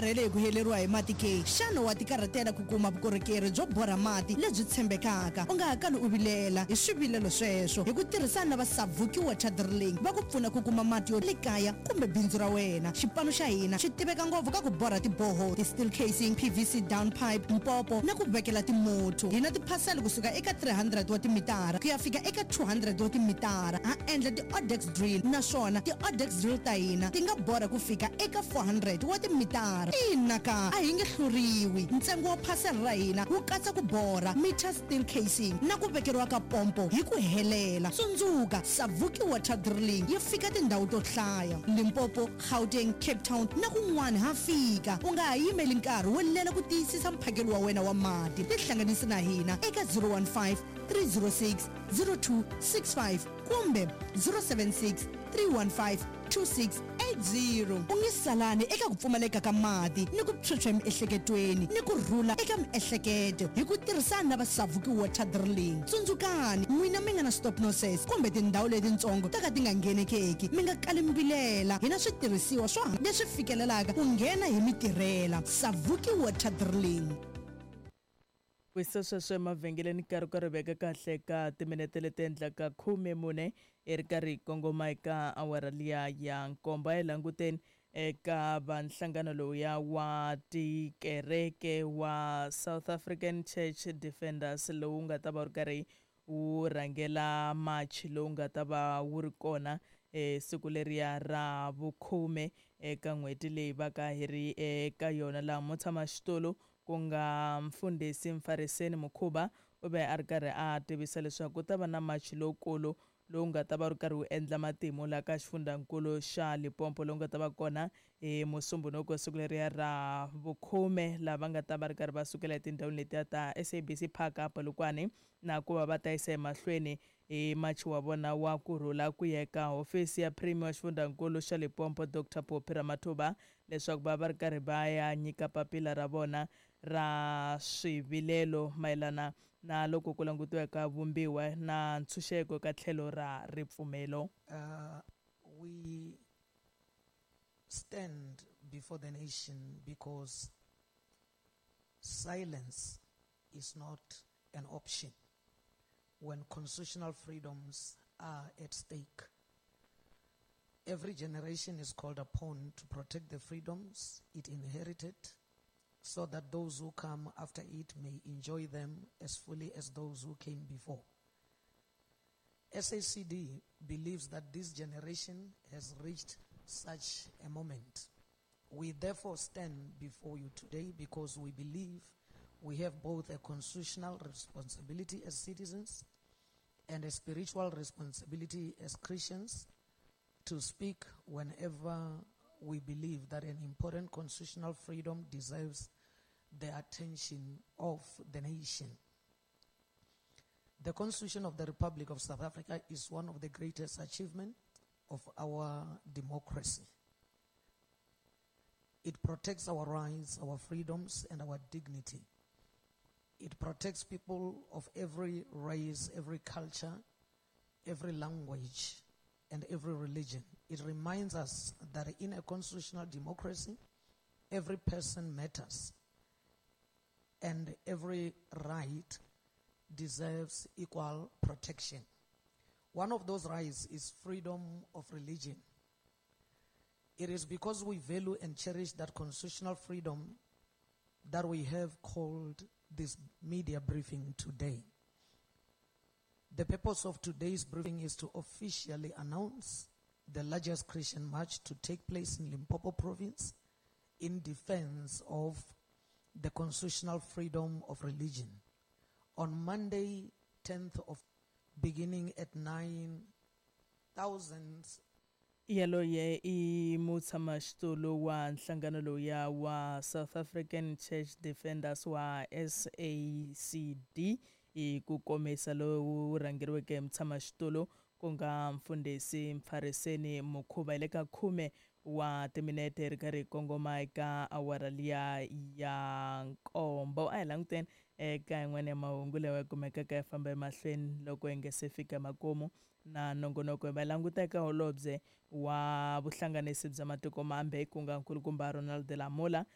Karhele hi ku heleriwa hi mati ke? Xana wa tikarhatela ku kuma vukorhokeri byo borha mati lebyi tshembekaka? U nga ha kali u vilela hi swivilelo sweswo. Hi ku tirhisana na va Savuki Water Drilling, va ku pfuna ku kuma mati yo le kaya kumbe bindzu ra wena. Xipano xa hina xi tiveka ngopfu ka ku borha ti-borehole, ti-steel casing, PVC down pipe, mpopo na ku vekela timuthu. Hi na tiphasele kusuka eka 300 wa timitara ku ya fika eka 200 wa timitara. Ha endla ti-odex drill naswona ti-odex drill ta hina ti nga borha ku fika eka 400 wa timitara. Ina ka, a hi nge hluriwi. Ntsengo wa phasela ra hina wu katsa ku borha, meter steel casing na ku vekeriwa ka pompo hi ku helela. Tsundzuka, Savuki Water Drilling yi fika tindhawu to hlaya, Limpopo, Gauteng, Cape Town na kun'wana ha fika. U nga ha yimeli nkarhi wo lela ku tiyisisa mphakelo wa wena wa mati. Tihlanganisi na hina eka 015 306 0265 kumbe 076 315 2680. U nge salani eka ku pfumaleka ka mati ni ku phyuphya emiehleketweni ni ku rhula eka miehleketo hi ku tirhisana na va Savuki Water Drilling. Tsundzukani, n'wina mi nga na stopnoses kumbe tindhawu letintsongo to ka ti nga nghenekeki, mi nga kali mi vilela. Hi na switirhisiwa swo leswi fikelelaka ku nghena hi mi tirhela. Savuki Water Drilling. Wisa sweswo emavhengeleni nkarhi ka ri veka kahle ka timinete leti endlaka 14 hi ri karhi hi kongoma eka awara liya ya nkombo. A hi languteni eka va nhlangano lowuya wa tikereke wa South African Church Defenders lowu nga ta va wu ri karhi wu rhangela March lowu nga ta va wu ri kona siku leriya ra vukhume eka n'hweti leyi va ka hi ri eka yona laha mutshamaxitulu ku nga Mfundhisi Mfariseni Mukhuba u ve a ri karhi a tivisa leswaku ku ta va na March lowukulu lowu nga ta va wu ri karhi wu endla matimu laha ka xifundhankulu xa Limpopo lowu nga ta va kona hi Musumbhunuko siku leriya ra vukhume laha va nga ta va ri karhi va sukela etindhawini letiya ta SABC Park a Polokwane na ku va va ta yisa emahlweni hi machi wa vona wa ku rhula ku ya eka hofisi ya Premier wa xifundhankulu xa Limpopo Doctor Phophi Ramathuba leswaku va va ri karhi va ya nyika papila ra vona ra swivilelo mayelana na loko ku langutiwa eka vumbiwa na ntshunxeko eka tlhelo ra ripfumelo. We stand before the nation because silence is not an option when constitutional freedoms are at stake. Every generation is called upon to protect the freedoms it inherited so that those who come after it may enjoy them as fully as those who came before. SACD believes that this generation has reached such a moment. We therefore stand before you today because we believe we have both a constitutional responsibility as citizens and a spiritual responsibility as Christians to speak whenever we believe that an important constitutional freedom deserves the attention of the nation. The Constitution of the Republic of South Africa is one of the greatest achievements of our democracy. It protects our rights, our freedoms, and our dignity. It protects people of every race, every culture, every language, and every religion. It reminds us that in a constitutional democracy, every person matters and every right deserves equal protection. One of those rights is freedom of religion. It is because we value and cherish that constitutional freedom that we have called this media briefing today. The purpose of today's briefing is to officially announce the largest Christian march to take place in Limpopo province in defense of the constitutional freedom of religion. On Monday, 10th of beginning at 9,000 Yaloye i mutshamaxitulu wa nhlangano lowuya wa South African Church Defenders wa SACD hi ku komisa lowu rhangeriweke hi mutshamaxitulu ku nga mfundhisi Mfariseni Mukhuva hi le ka khume wa timinete hi ri karhi hi kongoma eka awara liya ya nkombo. A hi languteni eka yin'wana ya mahungu lawa ya kumekaka ya famba emahlweni loko hi nga se fika makumu na nongonoko. Hi va languta eka holobye wa vuhlanganisi bya matiko mambe ku nga nkulukumba Ronald Lamola